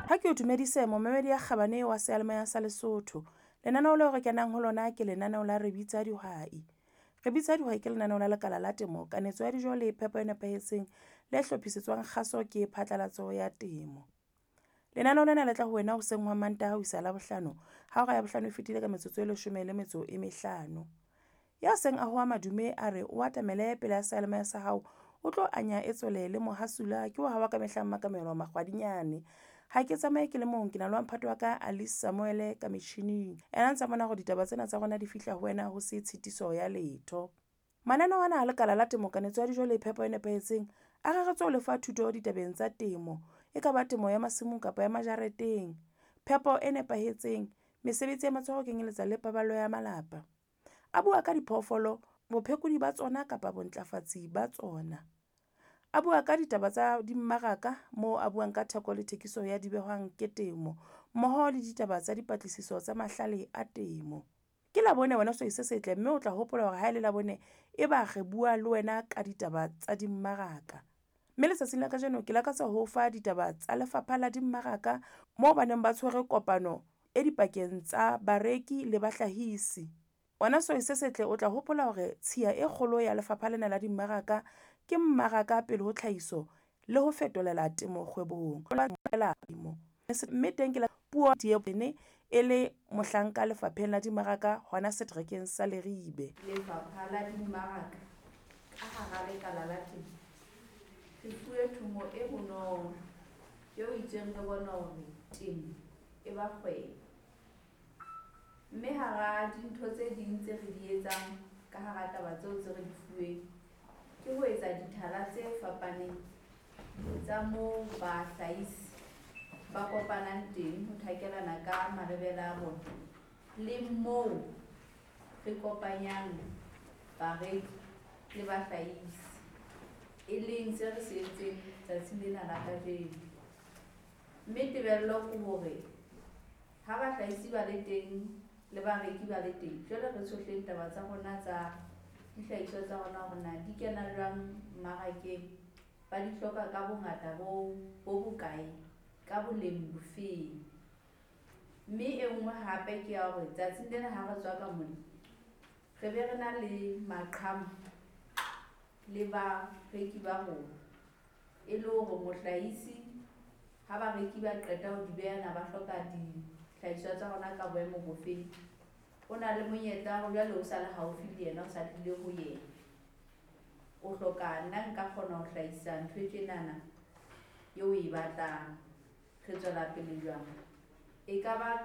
Ha ke o dumedise momamedi ya kgabane wa seyalemoya sa Lesotho. Lenaneo leo re kenang ho lona ke lenaneo la Re Bitsa Dihwai. Re Bitsa Dihwai ke lenaneo la lekala la temo, kanetso ya dijo le phepo e nepahetseng le hlophisetswang kgaso ke phatlalatso ya temo. Lenaneo lena le tla ho wena hoseng hwa Mantaha ho isa Labohlano ha hora ya bohlano e fetile ka metsotso e leshome le metso e mehlano. Ya seng a hoa madume a re o atamele pele ya seyalemoya sa hao o tlo anya e tswele le mohasula ke wa hao wa ka mehla Mmakamelo Makgwadinyane. Ha ke tsamaye ke le mong, ke na le wa mphato wa ka Alice Samuel ka metjhining. Ena ntsa bona hore ditaba tsena tsa rona di fihla ho wena ho se tshitiso ya letho. Mananeo ana a lekala la temo, kanetso ya dijo le phepo e nepahetseng a reretswe ho lefa thuto ditabeng tsa temo. E ka ba temo ya masimong kapa ya majareteng, phepo e nepahetseng, mesebetsi ya matsoho ho kenyeletsa le paballo ya malapa. A bua ka diphoofolo, bophekodi ba tsona kapa bontlafatsi ba tsona. A bua ka ditaba tsa dimmaraka moo a buang ka theko le thekiso ya dibehwang ke temo mmoho le ditaba tsa dipatlisiso tsa mahlale a temo. Ke Labone wena sehwai se setle mme o tla hopola hore ha e le Labone e ba re bua le wena ka ditaba tsa dimmaraka. Mme letsatsing la kajeno ke lakatsa ho o fa ditaba tsa lefapha la dimmaraka moo ba neng ba tshwere kopano e dipakeng tsa bareki le bahlahisi. Wena sehwai se setle o tla hopola hore tshiya e kgolo ya lefapha lena la dimmaraka ke mmaraka pele ho tlhahiso le ho fetolela temo kgwebong. Mme teng ke la puo e le mohlanka lefapheng la dimmaraka hona seterekeng sa Leribe. Lefapha la Dimmaraka ka hara lekala la temo re fuwe thomo e bonolo eo itseng re bone hore temo e ba kgwebo. Mme hara dintho tse ding tse re di etsang ka hara taba tseo tse re di fuweng ke ho etsa dithala tse fapaneng tsa moo bahlahisi ba kopanang teng ho thakelana ka malebela a bona le moo re kopanyang bareki le bahlahisi, e leng se re se entseng tsatsing lena la kajeno. Mme tebello ke hore ha bahlahisi ba le teng le bareki ba le teng, jwale re tshohleng taba tsa rona tsa dihlahiswa tsa rona hore na di kena jwang mmarakeng, ba di hloka ka bongata bo bokae, ka boleng bofeng. Mme e nngwe hape ke ya hore tsatsing lena ha re tswa ka mona re be re na le maqhama le bareki ba rona, e le hore mohlahisi ha bareki ba qeta ho di beha na ba hloka dihlahiswa tsa rona ka boemo bofeng, o na le monyetla hore jwale o sa le haufi le yena, o sa tlile ho yena. O hloka nna nka kgona ho hlahisa ntho e tjenana eo o e batlang. Re tswela pele jwang? E ka ba